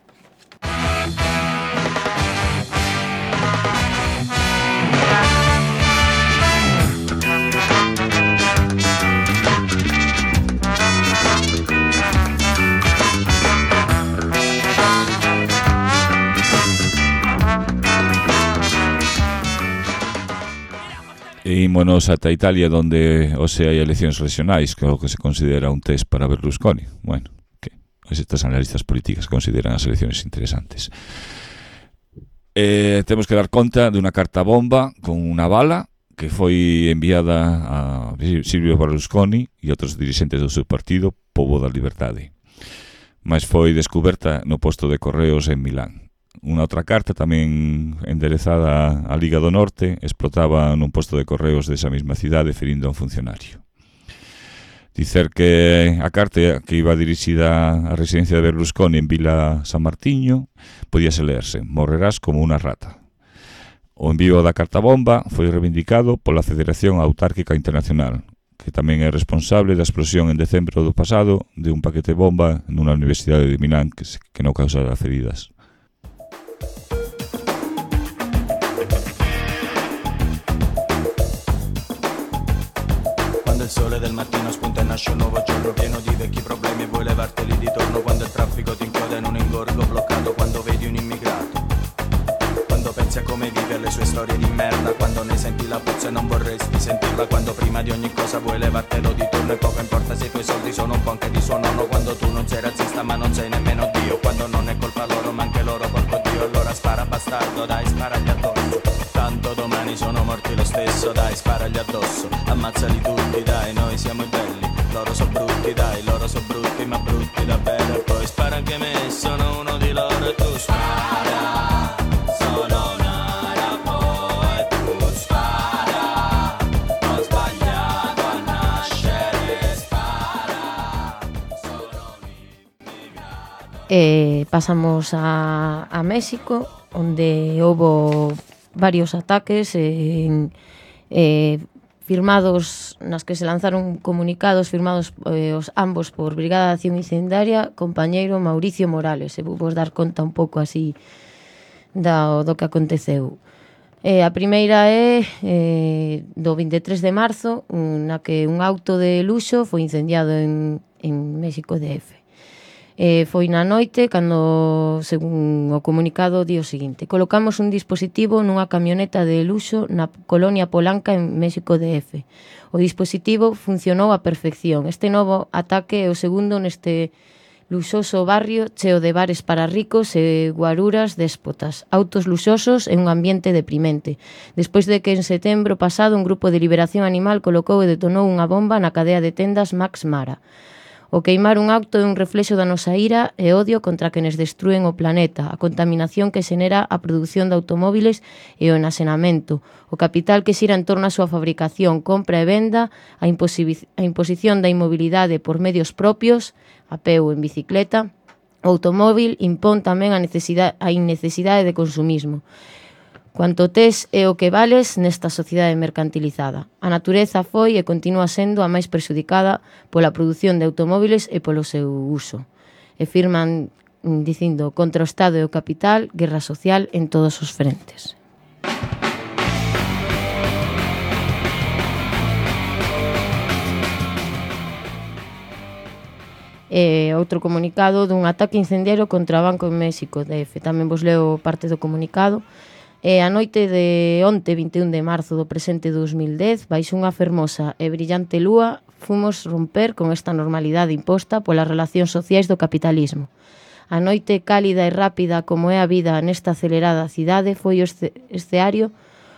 E ímonos ata Italia, onde hoxe hai eleccións regionais, que é o que se considera un test para Berlusconi. Bueno, que estas analistas políticas consideran as eleccións interesantes. Eh, temos que dar conta dunha carta bomba con unha bala que foi enviada a Silvio Berlusconi e outros dirixentes do seu partido, Povo da Liberdade. Mas foi descoberta no posto de correos en Milán. Unha outra carta tamén enderezada á Liga do Norte explotaba nun posto de correos desa mesma cidade ferindo a un funcionario. Dicer que a carta que iba dirixida á residencia de Berlusconi en Vila San Martiño podíase leerse: morrerás como unha rata. O envío da carta bomba foi reivindicado pola Federación Autárquica Internacional, que tamén é responsable da explosión en decembro do pasado de un paquete bomba nunha universidade de Milán que, que non causara feridas. Il sole del mattino spunta e nasce un nuovo giorno pieno di vecchi problemi e vuoi levarteli di torno quando il traffico ti incoda in un ingorgo bloccato, quando vedi un immigrato, quando pensi a come vive le sue storie di merda, quando ne senti la puzza e non vorresti sentirla, quando prima di ogni cosa vuoi levartelo di torno e poco importa se i tuoi soldi sono un po' anche di suo nonno, quando tu non sei razzista ma non sei nemmeno Dio, quando non è colpa loro ma anche loro porco Dio, allora spara bastardo, dai sparagli addosso, tanto domani sono morti lo stesso, dai sparagli addosso, ammazzali tutti, dai noi siamo i belli, loro so brutti, dai loro so brutti ma brutti davvero, e poi spara anche me, sono uno di loro e tu spara, sono una rapo e tu spara, ho sbagliato a nascere, spara, sono un immigrato. E pasamos a, a México, onde houbo varios ataques en, eh, firmados, nas que se lanzaron comunicados firmados eh, os ambos por Brigada de Acción Incendiaria, compañeiro Mauricio Morales. E vou vos dar conta un pouco así do, do que aconteceu. Eh, a primeira é eh, do vinte e tres de marzo, na que un auto de luxo foi incendiado en, en México D F. Eh, foi na noite cando, según o comunicado, di o seguinte: colocamos un dispositivo nunha camioneta de luxo na colonia Polanca en México D F. O dispositivo funcionou a perfección. Este novo ataque é o segundo neste luxoso barrio cheo de bares para ricos e guaruras déspotas, autos luxosos e un ambiente deprimente. Despois de que en setembro pasado un grupo de liberación animal colocou e detonou unha bomba na cadea de tendas Max Mara. O queimar un auto é un reflexo da nosa ira e odio contra quenes destruen o planeta, a contaminación que xenera a produción de automóviles e o enasenamento, o capital que xira en torno á súa fabricación, compra e venda, a, imposi- a imposición da inmobilidade por medios propios, a pé ou en bicicleta. O automóvil impón tamén a, necesidade, a innecesidade de consumismo. Cuanto tes é o que vales nesta sociedade mercantilizada. A natureza foi e continúa sendo a máis prexudicada pola produción de automóviles e polo seu uso. E firman dicindo contra o Estado e o capital, guerra social en todos os frentes. E outro comunicado dun ataque incendiario contra o Banco en México D F. Tamén vos leo parte do comunicado. E a noite de onte, vinte e un de marzo do presente dos mil dez, baixo unha fermosa e brillante lúa, fomos romper con esta normalidade imposta polas relacións sociais do capitalismo. A noite cálida e rápida como é a vida nesta acelerada cidade foi o escenario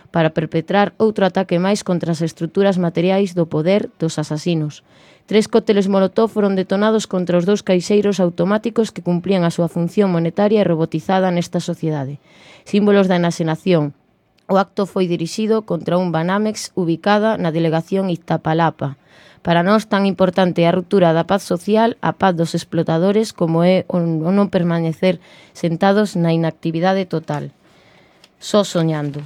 para perpetrar outro ataque máis contra as estruturas materiais do poder dos asasinos. Tres cócteles molotov foron detonados contra os dous caixeiros automáticos que cumplían a súa función monetaria e robotizada nesta sociedade. Símbolos da enaxenación. O acto foi dirixido contra un Banamex ubicada na delegación Iztapalapa. Para nós tan importante é a ruptura da paz social, a paz dos explotadores, como é o non permanecer sentados na inactividade total. Só soñando.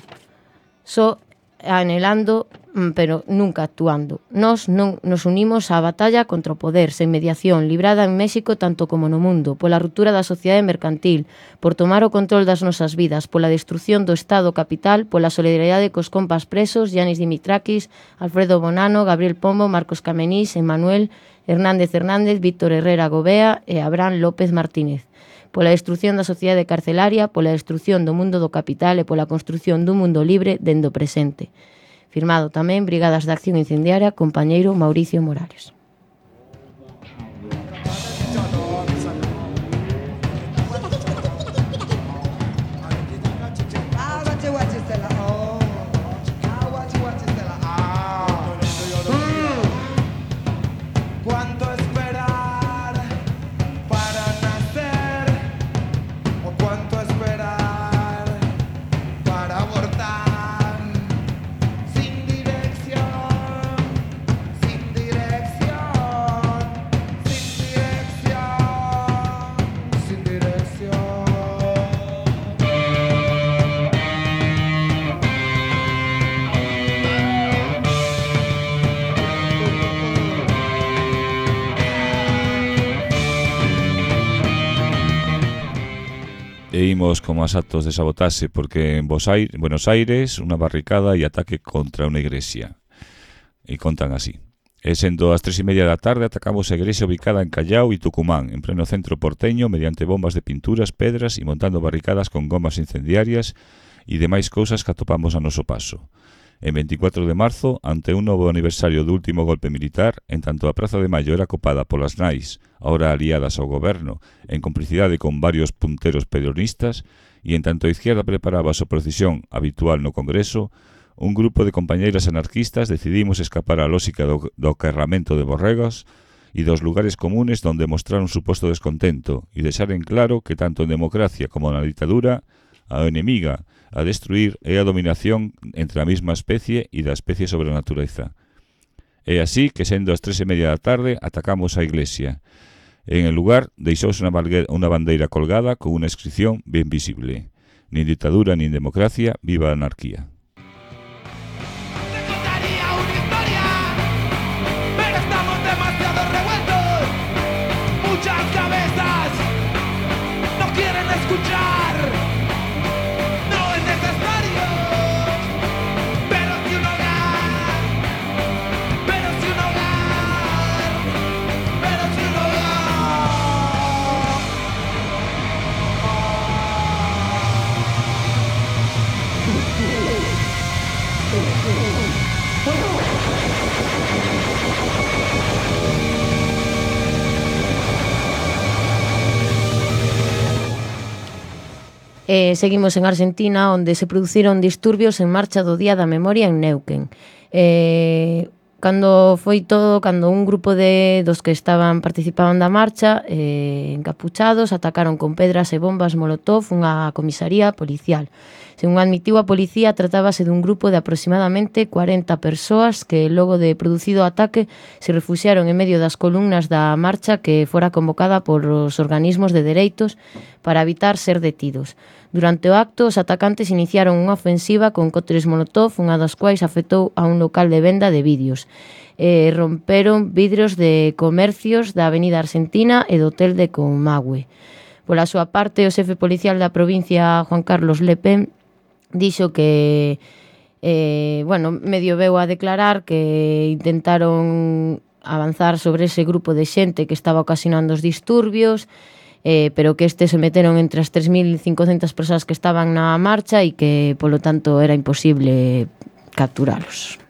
Só anhelando, pero nunca actuando. Nós non nos unimos á batalla contra o poder, sen mediación, librada en México tanto como no mundo, pola ruptura da sociedade mercantil, por tomar o control das nosas vidas, pola destrucción do Estado capital, pola solidaridade cos compas presos, Yanis Dimitrakis, Alfredo Bonano, Gabriel Pombo, Marcos Camenís, Emmanuel Hernández Hernández, Víctor Herrera Gobea e Abraham López Martínez. Pola destrucción da sociedade carcelaria, pola destrucción do mundo do capital e pola construción dun mundo libre dende o presente. Firmado tamén Brigadas de Acción Incendiaria, compañeiro Mauricio Morales. E imos como as actos de sabotaxe porque en Buenos Aires unha barricada e ataque contra unha iglesia. E contan así. E sendo as tres e media da tarde atacamos a iglesia ubicada en Callao e Tucumán, en pleno centro porteño, mediante bombas de pinturas, pedras e montando barricadas con gomas incendiarias e demais cousas que atopamos a noso paso. En veinticuatro de marzo, ante un novo aniversario do último golpe militar, en tanto a Praza de Mayo era copada polas nais, ahora aliadas ao goberno, en complicidade con varios punteros peronistas, e en tanto a izquierda preparaba a súa procesión habitual no Congreso, un grupo de compañeiras anarquistas decidimos escapar á lógica do, do acarramento de borregos e dos lugares comunes donde mostrar un suposto descontento e deixar en claro que tanto en democracia como na ditadura, a enemiga a destruir é a dominación entre a mesma especie e da especie sobre a natureza. É así que, sendo as tres e media da tarde, atacamos a iglesia. En el lugar deixouse unha bandeira colgada con unha inscripción ben visible. Nin dictadura, nin democracia, viva a anarquía. Muchas cabezas no quieren escuchar, no es necesario, pero si un hogar, pero si un hogar, pero si un Eh, seguimos en Argentina, onde se produciron disturbios en marcha do Día da Memoria en Neuquén. Eh, cando foi todo, cando un grupo de dos que estaban participaban da marcha, eh, encapuchados, atacaron con pedras e bombas molotov unha comisaría policial. Según admitiu a policía, tratábase dun grupo de aproximadamente cuarenta persoas que, logo de producido o ataque, se refuxiaron en medio das columnas da marcha que fora convocada por os organismos de dereitos para evitar ser detidos. Durante o acto, os atacantes iniciaron unha ofensiva con cócteles molotov, unha das quais afectou a un local de venda de vídeos. Eh, romperon vidros de comercios da Avenida Argentina e do hotel de Comahue. Pola súa parte, o xefe policial da provincia, Juan Carlos Lepén, dixo que, eh, bueno, medio veu a declarar que intentaron avanzar sobre ese grupo de xente que estaba ocasionando os disturbios, eh, pero que estes se meteron entre as tres mil cincocentas persoas que estaban na marcha e que, polo tanto, era imposible capturalos.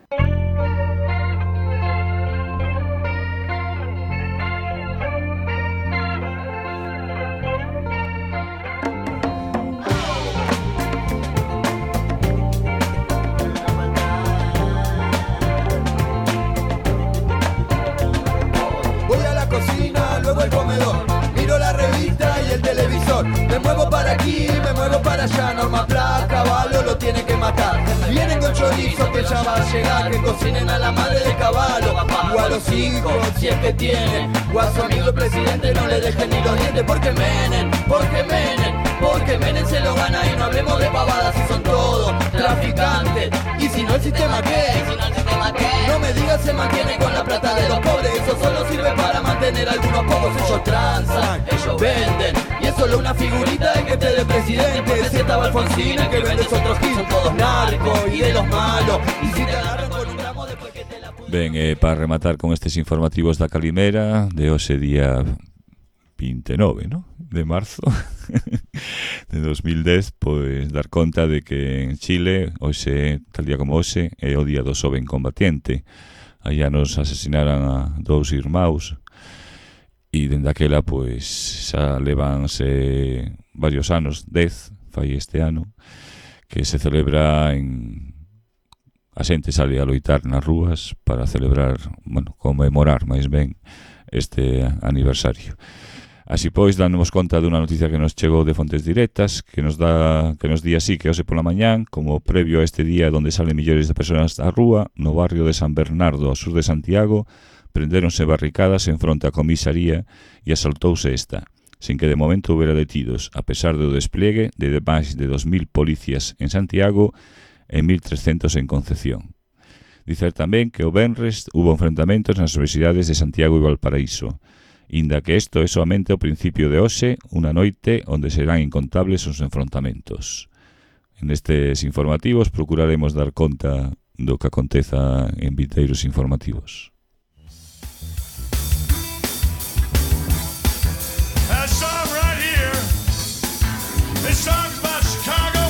Me muevo para aquí, me muevo para allá. Norma Pla, caballo lo tiene que matar. Vienen con chorizo que ya va a llegar. Que cocinen a la madre de caballo o a los hijos si es que tienen. O a su amigo el presidente no le dejen ni los dientes. Porque Menem, porque Menem, porque Menem se lo gana. Y no hablemos de pavadas si son todos traficantes. Y si no el sistema qué, si no el sistema qué, no me digas se mantiene con la plata de los pobres. Eso solo sirve para mantener a algunos pocos. Ellos transan, ellos venden. Y es solo una figurita de que esté de presidente. Si estaba Alfonsina que vendes otros Gil. Son todos narcos y de los malos. Y si te agarran con un gramo después que te la... Ben, eh, para rematar con estes informativos da Calimera de hoxe día veintinueve, ¿no? de marzo de dos mil dez, pois dar conta de que en Chile hoxe, tal día como hoxe, é o día do xoven combatiente. Allá nos asesinaran a dous irmãos e dende aquela pois xa levanse varios anos, dez fai este ano, que se celebra en... A xente sale a loitar nas rúas para celebrar, bueno, conmemorar máis ben este aniversario. Así pois, dándonos conta dunha noticia que nos chegou de fontes directas, que nos dá que nos di así que hoxe pola mañán, como previo a este día onde salen millores de persoas á rúa, no barrio de San Bernardo, ao sur de Santiago, prendéronse barricadas en fronte á comisaría e asaltouse esta, sin que de momento houbera detidos, a pesar do despliegue de máis de dos mil policías en Santiago e mil trescentos en Concepción. Dicer tamén que o venres hubo enfrentamentos nas universidades de Santiago e Valparaíso, inda que isto é somente o principio de hoxe, unha noite onde serán incontables os enfrontamentos. En estes informativos procuraremos dar conta do que aconteza en vinteiros informativos. That song right here, this song's about Chicago.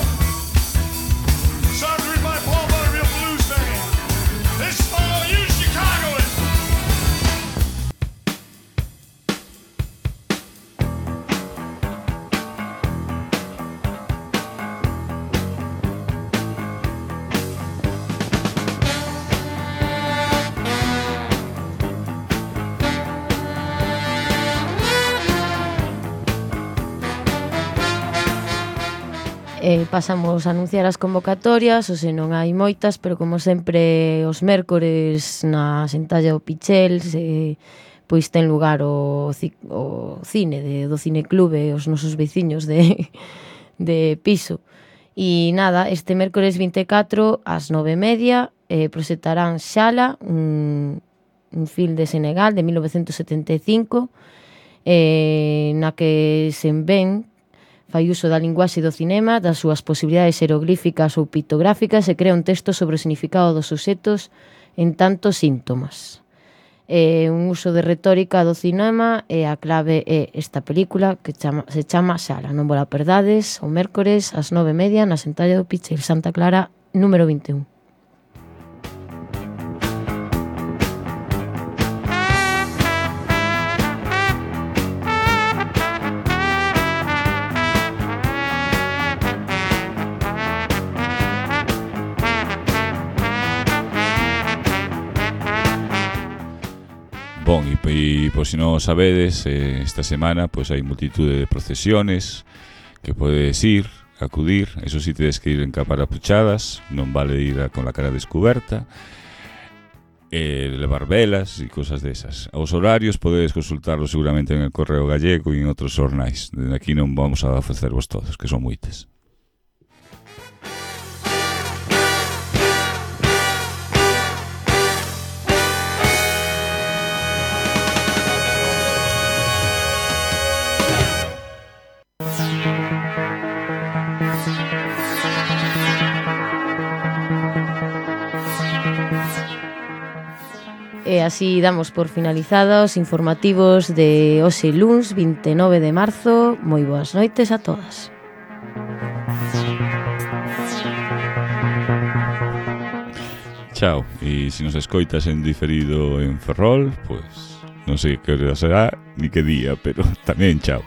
Song's written by Paul Butterfield Blues Band. This is for all you Chicagoans. Eh, pasamos a anunciar as convocatorias, ou se non hai moitas, pero como sempre os mércores na Sentalla do Pichel se, pois ten lugar o, o cine de, do cineclube, os nosos veciños de, de piso. E nada, este mércores vinte e catro ás nove e media eh, proxectarán Xala, un, un film de Senegal de mil novecentos setenta e cinco, eh, na que se ven fai uso da linguaxe do cinema, das súas posibilidades xeroglíficas ou pictográficas e crea un texto sobre o significado dos obxectos en tantos síntomas. É un uso de retórica do cinema e a clave é esta película que chama, se chama Xala. Non vos la perdades, o mércores ás nove e media na Sentalla do Pichel, Santa Clara, número vinte e un. Bon, e, e por si non sabedes, eh, esta semana pois hai multitude de procesiones que podedes ir, acudir. Eso si tedes que ir en caparapuchadas, non vale ir a, con la cara descuberta, eh, levar velas e cosas desas. Os horarios podedes consultarlos seguramente en el Correo Gallego e en outros xornais. Desde aquí non vamos a ofrecervos todos, que son moites. E así damos por finalizados informativos de hoxe luns vinte e nove de marzo. Moi boas noites a todas. Chao, e se nos escoitas en diferido en Ferrol, pois non sei que hora será ni que día, pero tamén chao.